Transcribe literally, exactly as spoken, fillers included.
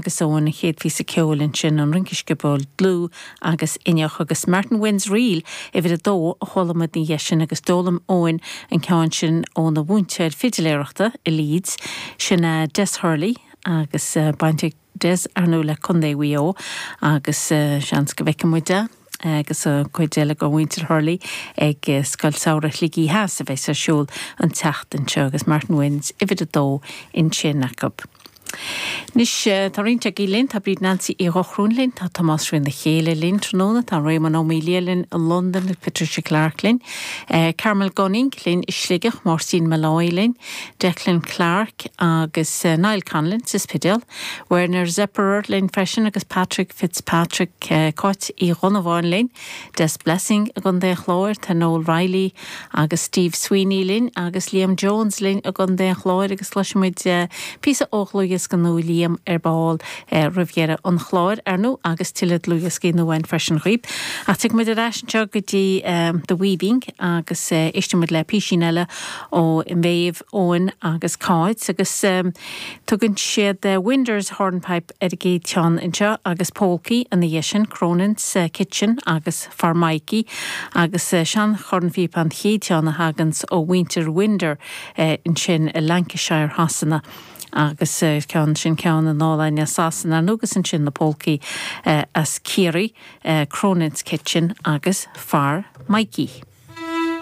agus Eoin an chéad phíosa ceoil ansin an rince scioból dlúth agus inneach agus Martin Wynne's Reel uimhir a dó a chuala muid ina dhiaidh sin agus d'fhoghlaim Eoin an ceann sin óna mhúinteoir fidiléireachta i Leeds sin Des Hurley agus baint ag Des ar ndóigh le Contae Mhaigh Eo agus seans go bhfeicfidh muid é agus cuid eile de mhuintir Hurley ag Scoil Samhraidh Shligigh Theas a bheas ar siúl an tseachtain seo agus Martin Wynne's uimhir a dó ansin acu. Anois tá roinnt agaibh linn tá Bríd Nancy Uí Dhochróin linn, tá Tomás Ríona Chéile linn tráthnóna, tá Réamonn Ó Mília linn i Londain, Patricia Clark linn, Carmel Gunning linn i Sligeach, Máirtín Malloy linn, Declan Clark agus Niall Conlon sa Spidéal, Werner Zepperer linn freisin agus Patrick Fitzpatrick Cáit Uí Dhonnabháin linn, Des Blessing i gContae an Chláir, tá Noel Riley agus Steve Sweeney linn agus Liam Jones linn i gContae an Chláir agus cloisfimid píosa ó dhlúthdhiosca nua Liam ar ball roimh dheireadh an chláir ar ndóigh agus tuilleadh dlúthdhioscaí nua freisin chugaibh. Ach tiocfaimid ar ais anseo go dtí The Weaving agus éistfimid le písín eile ó Méabh, Eoin agus Cáit agus tugann siad Winders Hornpipe ar an gcéad cheann anseo agus Polcaí ina dhiaidh sin, Cronin's Kitchen agus Far Mikey agus sean-chornphíopa an chéad cheann a thaganns ó mhuintir Winder ansin i Lancashire Shasana. agus ceann sin ceann in álainn Sasana agus ansin na polcaí as Ciarraí, Cronin's Kitchen agus Far Mikey.